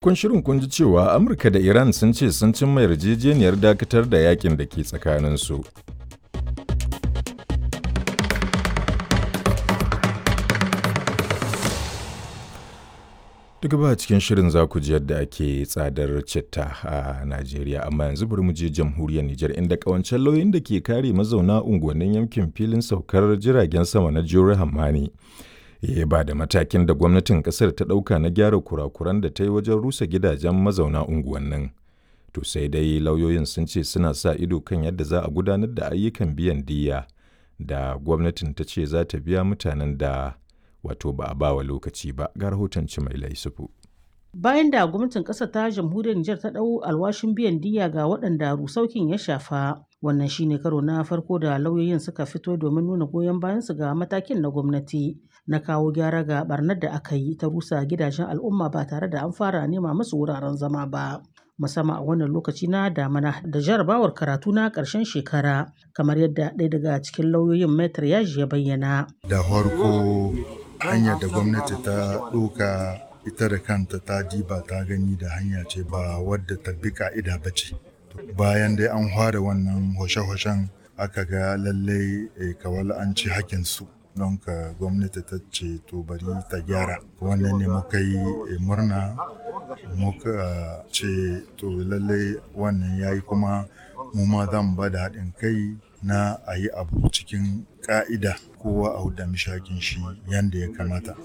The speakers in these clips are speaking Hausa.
Kun shirin kun ji cewa Amurka da Iran sun ce sun cimma yarjejeniyar dakatar da yakin da ke tsakaninsu. Duk ba cikin shirin za ku ji yadda ake tsadar citta a Najeriya, amma yanzu bari mu je jamhuriyar Nijar inda kawancen lauyoyin da ke kare mazauna unguwannin yankin filin saukar jiragen sama na Jure Hammani. Ya ba da matakin da gwamnatin kasar ta ɗauka na gyara kurakuran da ta yi wajen rusa gidajen mazauna unguwannin. To sai dai lauyoyin sun ce suna sa ido kan yadda za a gudanar da ayyukan biyan diyya da gwamnatin ta ce za ta biya mutanen da wato ba a bawa lokaci ba ga rahoton mai laisufu. Bayan da gwamnatin ƙasar ta jamhuriyar Nijar ta ɗau alwashin biyan diyya ga waɗanda rusaukin ya shafa. Wannan shine karo na farko da lauyoyin suka fito domin nuna goyon bayansu ga matakin na gwamnati na kawo gyara ga barnar da aka yi ta rusa gidajen al'umma ba tare da an fara nema musu wuraren zama ba. Musamman a wannan lokaci na damana da jarabawar karatu na ƙarshen shekara kamar yadda ɗaya daga cikin lauyoyin Maitre Yaji ya bayyana. Da farko hanyar da gwamnati ta ɗauka ita da kanta ta diba ta gani da hanya ce ba wadda ta bi ka'ida ba ce. Bayan dai an fara wannan hoshe-hoshen aka ga lallai kawal an ci hakinsu. Don ka gwamnati ta ce to bari ta gyara. Wannan ne muka yi murna muka ce to lallai wannan ya yi kuma mu ma zan ba da haɗin kai na a yi abu cikin ƙa'ida kowa a huda mishi shi yanda ya kamata.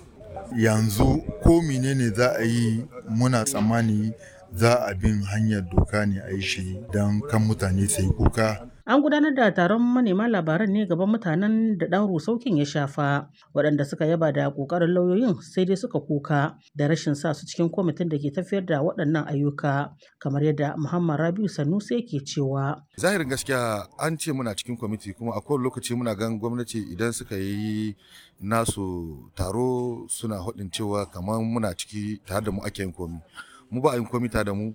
Yanzu ko menene za a yi muna tsammani za a bin hanyar doka ne a yi shi don kan mutane su yi kuka. An gudanar da taron manema labaran ne gaban mutanen da ɗan rusaukin ya shafa, waɗanda suka yaba da ƙoƙarin lauyoyin sai dai suka kuka da rashin sa su cikin kwamitin da ke tafiyar da waɗannan ayyuka, kamar yadda Muhammad Rabiu Sanusi ke cewa. Zahirin gaskiya an ce muna cikin kwamiti kuma a kowane lokaci muna gan gwamnati idan suka yi nasu taro suna haɗin cewa kamar muna ciki tare da mu ake yin komi. Mu ba a yin komi tare da mu,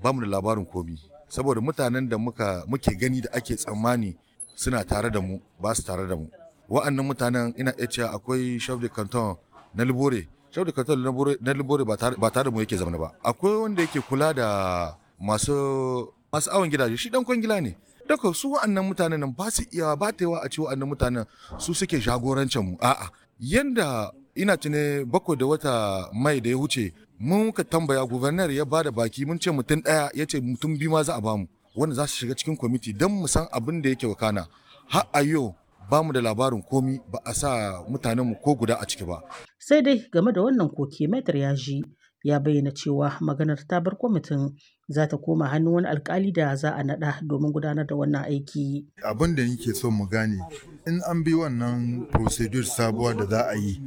ba mu da labarin komi. Saboda mutanen da muka muke gani da ake tsammani suna tare da mu ba su tare da mu. Wa'annan mutanen ina iya cewa akwai chef de canton na Libore. Chef de canton na Libore ba tare da mu yake zama ba. Akwai wanda yake kula da masu masu awon gidaje shi dan kwangila ne. Daga su wa'annan mutanen nan ba su iya ba ta yawa a ce wa'annan mutanen su suke jagorancin mu. A'a yanda ina tune 7 da wata mai da ya wuce mun ka tambaya gubernar ya bada baki mun ce mutum ɗaya ya ce mutum biyu ma za a bamu wanda za su shiga cikin kwamiti don mu san abin da yake wakana har a yau ba mu da labarin komi ba a sa mutanenmu ko guda a ciki ba. Sai dai game da wannan koke Maitre Yaji ya bayyana cewa maganar ta bar kwamitin za ta koma hannun wani alkali da za a naɗa domin gudanar da wannan aiki. Abin da nake so mu gane in an bi wannan procedure sabuwa da za a yi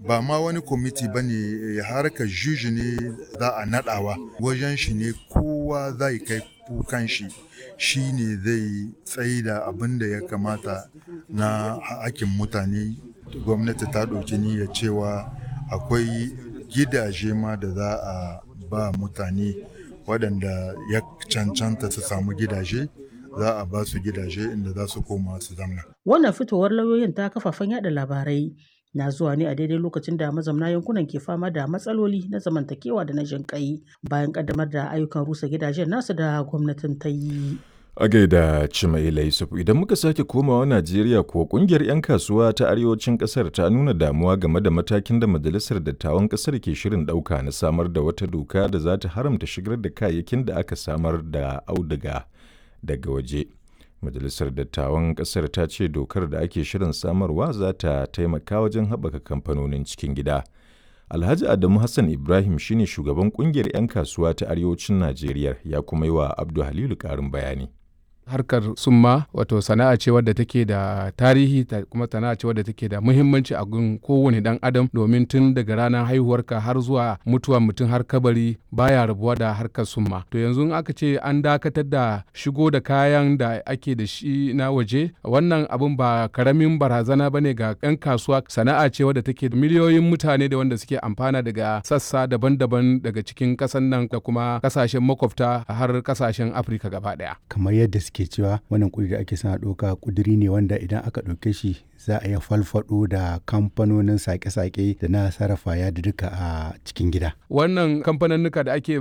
ba ma wani kwamiti ba ne harkar juji ne za a naɗawa wajen shi ne kowa zai kai kukan shi shi ne zai tsaida abin da ya kamata na hakkin mutane. Gwamnati ta ɗauki niyyar cewa akwai gidaje ma da za a ba mutane waɗanda ya cancanta su samu gidaje za a ba su gidaje inda za su koma su zamna. Wannan fitowar lauyoyin ta kafafen yada labarai na zuwa ne a daidai lokacin da mazauna yankunan ke fama da matsaloli na zamantakewa da na jinƙai bayan ƙaddamar da ayyukan rusa gidajen nasu da gwamnatin ta yi. A gaida Cimaila Yusuf idan muka sake komawa Najeriya kuwa kungiyar 'yan kasuwa ta arewacin kasar ta nuna damuwa game da matakin da majalisar dattawan kasar ke shirin ɗauka na samar da wata doka da za ta haramta shigar da kayayyakin da aka samar da auduga daga waje. Majalisar dattawan kasar ta ce dokar da ake shirin samarwa za ta taimaka wajen haɓaka kamfanonin cikin gida. Alhaji Adamu Hassan Ibrahim shine shugaban kungiyar 'yan kasuwa ta arewacin Najeriya ya kuma yi wa Abdu Halilu ƙarin bayani. Harkar summa wato sana'a ce wadda take da tarihi kuma sana'a ce wadda take da muhimmanci a gun kowane dan adam domin tun daga ranar haihuwarka har zuwa mutuwar mutum har kabari baya rabuwa da harkar summa. To yanzu in aka ce an dakatar da shigo da kayan da ake da shi na waje, wannan abun ba karamin barazana bane ga 'yan kasuwa. Sana'a ce wadda take miliyoyin mutane da wanda suke amfana daga sassa daban-daban daga cikin kasan nan da kuma kasashen makwabta har kasashen Afirka gaba daya. Kamar yadda suke ke cewa wannan kuduri da ake son a ɗauka kuduri ne wanda idan aka ɗauke shi za a iya falfaɗo da kamfanonin sake-sake da na sarrafa yadudduka a cikin gida. Wannan kamfaninnika da ake